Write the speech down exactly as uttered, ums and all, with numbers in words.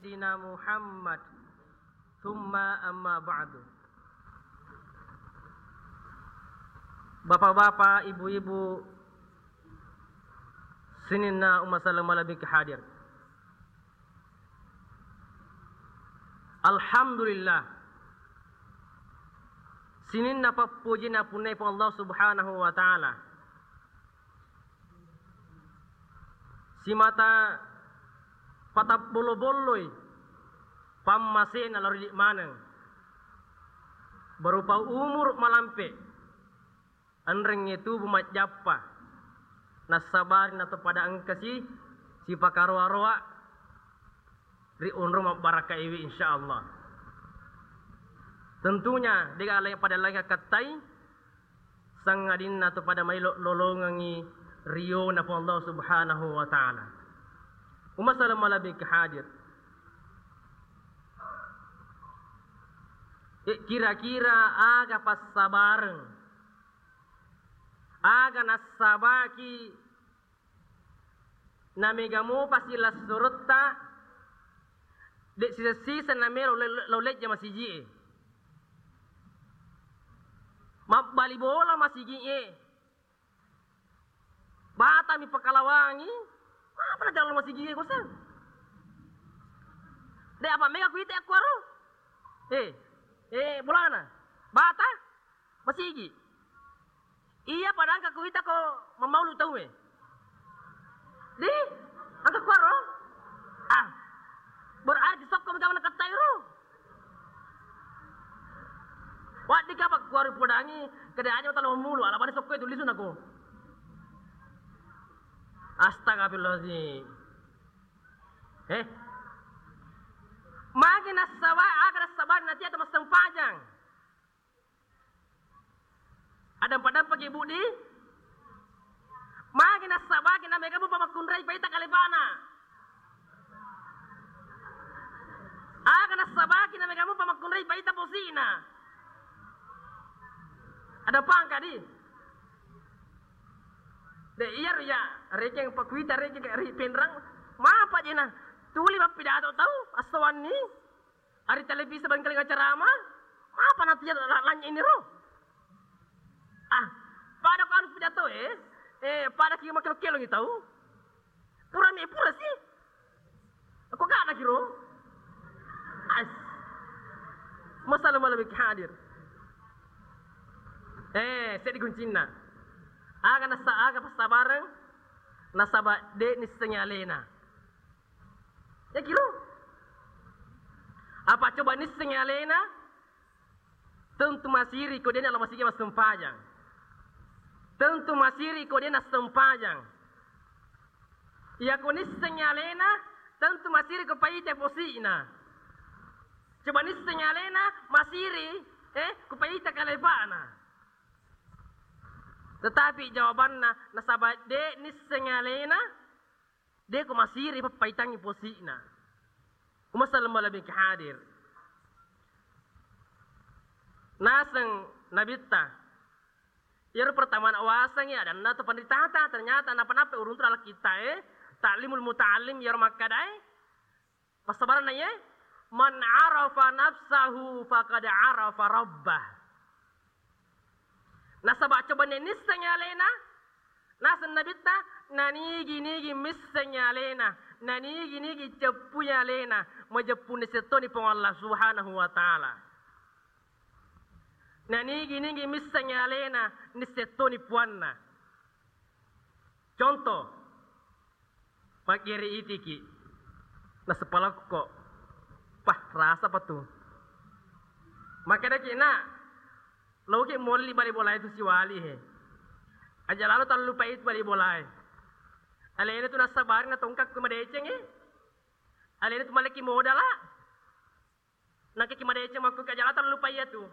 Sayyidina Muhammad. Tsumma amma ba'du. Bapak-bapak, ibu-ibu, sininna umma saleng malebbi hadir. Alhamdulillah. Sininna pappuji napunnai Puang Allah Subhanahu wa Ta'ala. Simata patabbollo-bolloi pammasena lao ri idi maneng, berupa umur malampe, enrengnge tubu majjappa, nassabari nato pada engkasi sipakaroa-roa ri onrong mabbarakaiwi, insyaallah. Tentunya dega laing pada laing akkattai, sangadinna to pada maelo lolongengngi riona Puang Allah Subhanahu wa Ta'ala. Umma saleng malebbi hadir. Eh, kira-kira aga passabareng, aga nassabaki namega mopa silessuretta, de siseng-siseng namelo le-, lao lejja masigi'e. Mabbali bola masigi'e. Batami pakalawangi, apa na jalo masigi'e koseng? De apa mega kuite akkuaro? Eh, eh, bolana. Bata? Masigi. Iya, pada engka kuita ko mammaulu tauwe. Di, engka kuaro? Ah, berarti sokko mega mana katai ro. Waddi kapa kuaro podangi, kede aja talo mulu, ala bani sokko itu lisu nako. Astagfirullahaladzim. Eh, magi nassaba, aga nassaba nanti atau massempajang. Adampa-dampaki, Bu, di? Magi nassabaki namega mupa makkunrai paita kalepana? Aga nassabaki namega mupa makkunrai paita posi'na? Ada pangka, di? De, iyaro ya, rekeng pakuita, rekeng ri penrang, mapa jena? Tuli mappidato tau, assawanni. Ari televisi bangkalinga ceramah, apa nanti ya la-, lanya ini ro? Ah, pada ko anu pidato, eh? Eh, pada ki makkelo-kelo tau. Pura mi pura sih. Aku gak lagi ro. As. Masalah malam ini hadir. Eh, seddi kuncinna. Aga nasa, aga passabareng, nasaba de nissengi alena. Yakiro. Apa coba nissengi alena? Tentu masiri ko de na lao masigi massempajang. Tentu masiri ko de nassempajang. Iya ko nissengi alena, tentu masiri ko paita posi'na. Coba nissengi alena, masiri, eh, ko paita kalepana. Tetapi jawabanna, nasaba de nissengi alena, de ko masiri pappaitangi posi'na. Umma saleng malebbi hadir. Naseng nabitta. Iyaro pertama na wasengngi adanna to panritata, ternyata napa-napa uruntu dalam kitta e, Ta'limul Muta'allim iyaro makkedae, passabarenna iye, "Man arafa nafsahu faqad arafa rabbah." Nasaba coba nennissengngi alena, naseng nabitta, nanigi-nigi missengngi alena, nanigi-nigi ceppui alena, majeppu nissettoni Puang Allah Subhanahu wa Ta'ala. Nanigi-nigi missengngi alena, nissettoni puanna. Contoh, maggere itiki, nasepalakko. Pah, rasa apa tu? Makkedaki, "Nak, loki molli bali bolae tu siwali he. Aja lalo tallupai tu bali bolae. Alena tu nassabari natongkakku madeceng e. Alena tu maleki modala. Nakiki madeceng makku aja lalo tallupai iya tu."